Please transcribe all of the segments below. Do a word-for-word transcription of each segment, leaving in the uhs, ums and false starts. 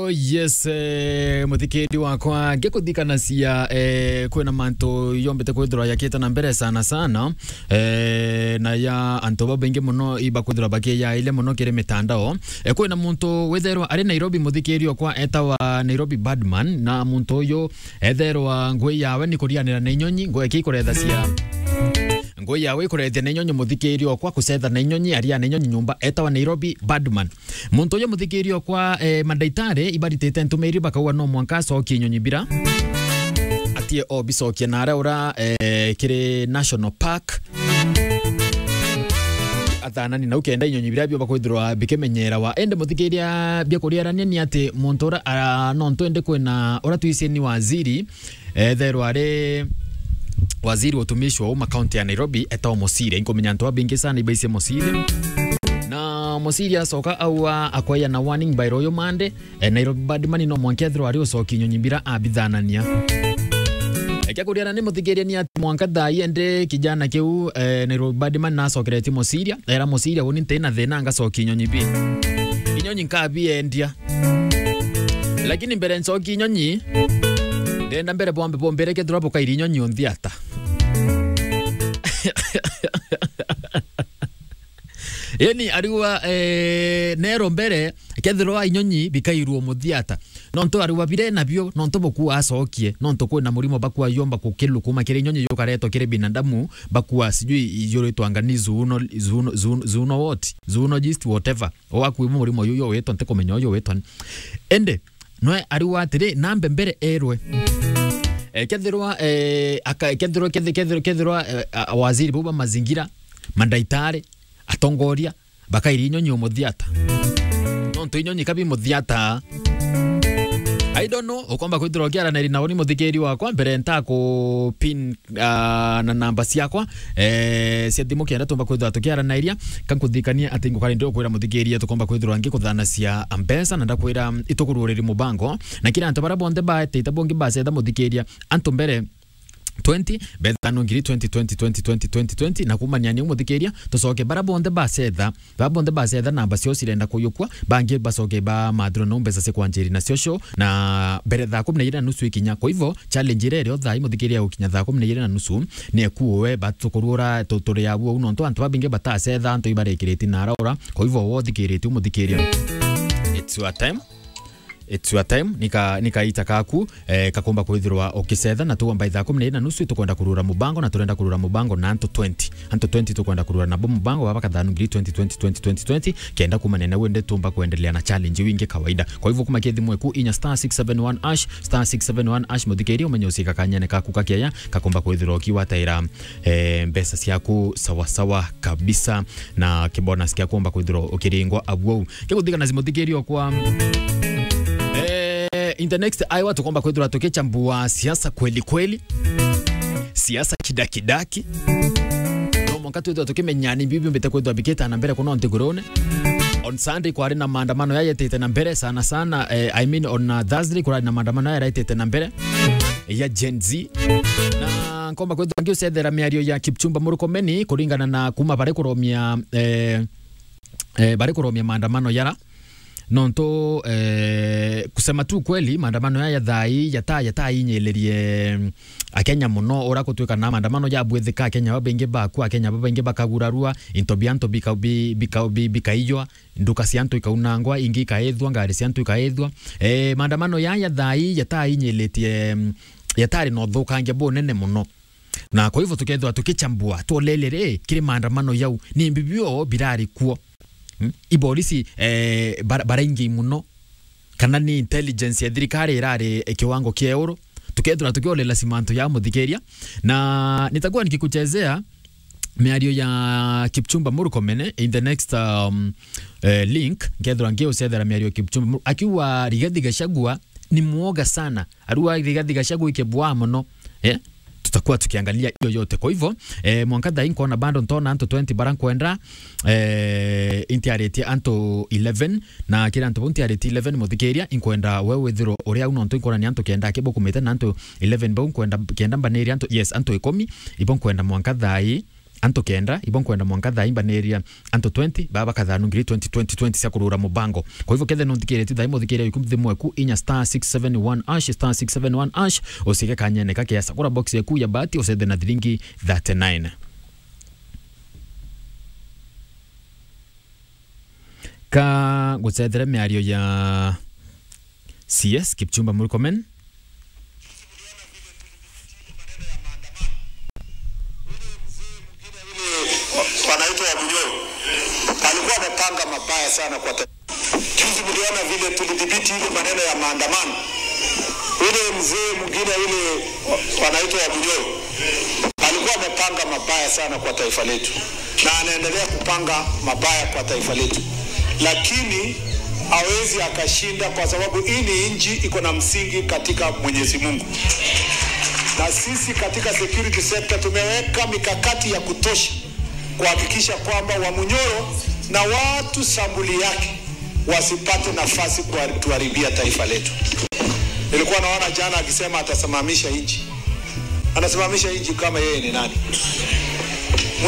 Oh yes, eh, muthikiri wakwa, ngikuthikanacia, eh, kwina mantu yombite kwithirwa yakite na mbere sana sana, eh, na ya antu babaingi muno ibakwithirwa bakiyaile muno kiri mitandao. Eh, kwina muntu witherwa ari Nairobi, muthikiri okwa etawa Nairobi Badman, na muntu uyu etherwa ngui yawe ni kurianira na inyonyi, ngui eki ikurethacia. Ngui yawe ikurethia na inyonyi, muthikiri okwa kucetha na inyonyi, aria na inyonyi nyumba, etawa Nairobi Badman. Muntu uyu muthikiri okwa, eh, mandaitari ibaritite ntumiri bakauga no mwanka acokie inyonyi bira. Atie o bicokie na aria ura, eh, kiri National Park. Athanani nau kenda inyonyi bira bio bakwithirwa bikimenyerawa. Ende muthikiria bia kuriarania ni ati muntu ura, ah, no ntu ende kwina ura twisi ni waziri, etherwa ari waziri wa utumishi wa umma kaunti ya Nairobi, etagwa Mosiria. Inkumenya antu babingi sana ibaisie Mosiria. Na Mosiria acoka aua akwaya na warning by Royal Monday, eh, Nairobi Badman no mwanka ethirwa ari ucoki inyonyi bira abithanania. Ekia kuriana ni muthikiria ni ati mwanka thaa ii ende kijana kiu, eh, Nairobi Badman nacokeretie Mosiria, era Mosiria, uni nti na thina ngacoki inyonyi bi. Inyonyi nkabiendia. Lakini mbere ncoki inyonyi, ndenda mbere bwambe bombere kethirwa bukairi inyonyi unthi ata. Yani, ariwa, eh, nero mbere, kethirwa inyonyi bikairwo muthi ata. Nontu ariwa bire nabio, nontu bukua acokie, nontu kwina murimo bakua yomba kukilu kuma kiri inyonyi yukaretwo kiri binadamu, bakua sijui yuritwanga ni zoono-, zoono-, zoono-, zoono what? Zoologist, whatever. Owakuimwe murimo uyu, uyu witwa, ntikumenya uyu witwa. Ende, nwe ariwa atiri, nambe mbere erwe. Eh, kethirwa, eh, aka-, kethirwa, kethi-, kethirwa, kethirwa, eh, a-, waziri bau ba mazingira, mandaitari, atongoria, bakairi inyonyi umuthi ata. Nontu inyonyi kabi muthi ata. I don't know, ukomba kwithirwa ukiaraniri nao ni muthikiri wakwa, mbere nta ku pin, ah, na namba ciakwa, eh, cia thimu kenda tumba kwithirwa tukiaranairia, kankuthikania ati ngukari ndi ukwira muthikiria tukomba kwithirwa ngikuthanacia mbeca na ndakwira itukururiri mubango, na kira antu bara bonthe baetite bongi bacetha muthikiria, antu mbere twenty, bethano ngiri twenty, twenty, twenty, twenty, twenty, twenty, na kumania ni umuthikiria, tucoke bara bonthe bacetha, bara bonthe bacetha namba ciao cirenda kuyukua, bangi bacoke bamathirwa no mbeca cia kwanjiri nacio show, na mbere thaa kumi na ijiri na nusu ikinya. Kwa hivyo, challenge iria irio thaa imuthikiria gukinya thaa kumi na ijiri na nusu, ni ekuwe batukurura tu-, turi abu au, nontu antu babingi batacetha, antu ibarekiriti na araura. Kwa hivyo, wothikiriti umuthikiria. It's your time. It's your time, nika, nika ita kaku, eh, kakomba kwithirwa ukicetha, na tuwa mbai thaa kumi na iri na nusu, tukwenda kurura mubango, na turenda kurura mubango na antu twenty. Antu twenty tukwenda kurura nabo mubango, baba kathanu ngiri twenty, twenty, twenty, twenty, twenty, kenda kumania na wende tumba kuendelea na challenge wingi kawaida. Kwa hivyo kuma kithi mweku inya star six seven one hash, star six seven one hash, muthikiri umenye ucika kanyene kaku kakeya, kakomba kwithirwa ukiwataira, eh, mbeca ciaku sawa sawa kabisa, na kibonus kia kuomba kwithirwa ukiringwa abu au. Kiguthikana cimuthikiri okwa. Eh, in the next hour tukomba kwithirwa tukichambua siasa kweli kweli. Siasa kidakidaki. No mwanka twithirwa tukimenya ni bibi mbite kwithirwa bikita na mbere kuno nthigurune. On Sunday kwari na maandamano yayetite na mbere sana sana, eh, I mean on, uh, Thursday kwari na maandamano yayetite na mbere ya Gen Z. Na nkomba kwithirwa ngiucethera miario ya Kipchumba Murkomen kuringana na kuma bari kuromia, eh, eh, bari kuromia maandamano yara. Nontu, eh, kusema tu kweli, maandamano yaya thai yata-, yatainyilirie Akenya muno, ura gutwika na maandamano yabwithika, Akenya babaingi bakua, Akenya babaingi bakagurarua, into bia antu bika-, bi-, bika-, bi-, bikaiywa, nduka cia antu ikaunangwa, ingi ikaithwa, ngari cia antu ikaithwa. Eh, maandamano yaya thai yatainyilitie, mm, yatari na uthukangia bunene muno. Na kwa hivyo tukethirwa tukichambua, tuolele ri, kiri maandamano yau, ni mbibio birari kuo. Hmm? Iborisi, eh, bara-, baraingi muno, kana ni intelligence ya thirikari irari, eh, kiwango kia iguru. Tukethirwa tukiolela cimantu ya muthikiria. Na nitakuwa nikikuchezea miario ya Kipchumba Murkomen in the next, um, eh, link, nkethirwa ngiucethera miario ya Kipchumba Mur-, akiuga Rigathi Gachagua ni muoga sana. Arua Rigathi Gachagua ikebua muno. Eh? Tutakuwa tukiangalia hiyo yote. Kwa hivyo, eh, mwanka thaa hii nkona bado ntona antu twenty bara nkwenda, eh, intiaritie antu eleven, na kira antu bau ntiaritie eleven muthikiria, inkwenda we withirwo uri au nontu inkwona ni antu kenda akibukumite na antu eleven bau nkwenda kenda mbaniri antu, yes, antu ikumi, ibo nkwenda mwanka thaa hii antu kenda, ibo nkwenda mwanka thaa imbaniria antu twenty, baba kathanu ngiri twenty, twenty, twenty cia kurura mubango. Kwa hivyo, kethe nunthikiritie thaa imo, thikiria yuku thimu eku, inya star six seven one hash, star six seven one hash, ucike kanyene ka kiasa. Kura box eku ya bahati, ucethe na thiringi thirty-nine. Ka gucethere miario ya C S Kipchumba Murkomen. Wanaitwa Wamunyoro. Alikuwa amepanga mabaya sana kwa ta-, juzi mliona vile tulidhibiti ile maneno ya maandamano. Ule mzee mwingine ule wanaitwa Wamunyoro. Alikuwa amepanga mabaya sana kwa taifa letu. Na anaendelea kupanga mabaya kwa taifa letu. Lakini hawezi akashinda kwa sababu hii ni nchi iko na msingi katika Mwenyezi Mungu. Na sisi katika security sector tumeweka mikakati ya kutosha kuhakikisha kwamba Wamunyoro na watu sambuli yake wasipate nafasi kutuharibia taifa letu. Nilikuwa naona jana akisema atasimamisha nchi. Anasimamisha nchi kama yeye ni nani?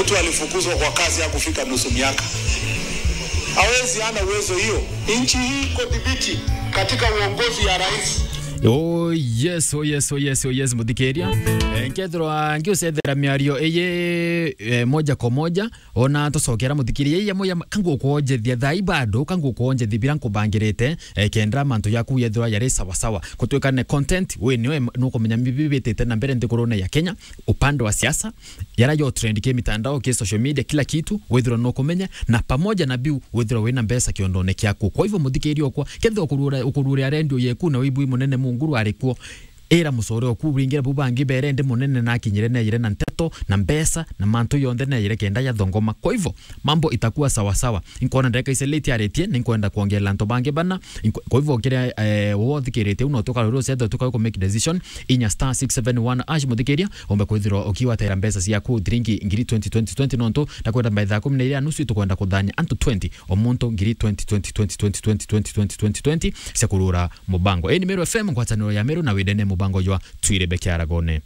Mtu alifukuzwa kwa kazi hakufika nusu miaka. Hawezi, hana uwezo hiyo. Nchi hii iko dhibiti katika uongozi ya rais. Oh yes, oh yes, oh yes, oh yes, muthikiria. Eh, nkethirwa ngiucethera miario iyi, eh, moja kwa moja, ona tucokera muthikiria, iya moya kangukwonjethia thai bado, kangukwonjethia bira nkubangirite, eh, kenda mantu yaku yethirwa yari sawa sawa. Kutwika ne content, we niwe nukumenya bibi bitite na mbere nthigurune ya Kenya, upande wa siasa, yara yo trend ki mitandao, ki social media, kila kitu, withirwa nukumenya, na pamoja na biu, withirwa wina mbeca kiondone kiaku. Kwa hivyo, muthikiria okwa, kethirwa ukurura, ukurura redio yeku na wibui munene munguru ari kuo, ira mucore oku uringire bu bangi bere ndi munene na akinyire neejire na nteto, na mbeca, na mantu yonthe neejire kenda yathongoma. Kwa hivyo, mambo itakuwa sawa sawa. Inkwona ndagika ici late aritie, ni nkwenda kwongerera antu bangi bana. Inkw-, kwa hivyo, kiria, eh, wothikiritie uno tukarurire ucethe tukawe ku make decision, inya star six seven one hash muthikiria, ombe kwithirwa ukiwatera mbeca ciaku thiringi ngiri twenty, twenty, twenty nontu ndakwenda by thaa kumi na iri na nusu itukwenda kuthania antu twenty, o muntu ngiri twenty, twenty, twenty, twenty, twenty, twenty, twenty, twenty, twenty cia kurura mubango. Ii ni Meru F M, ngwataniro ya Meru, na windene mubango jwa Twirebe Kiaragone.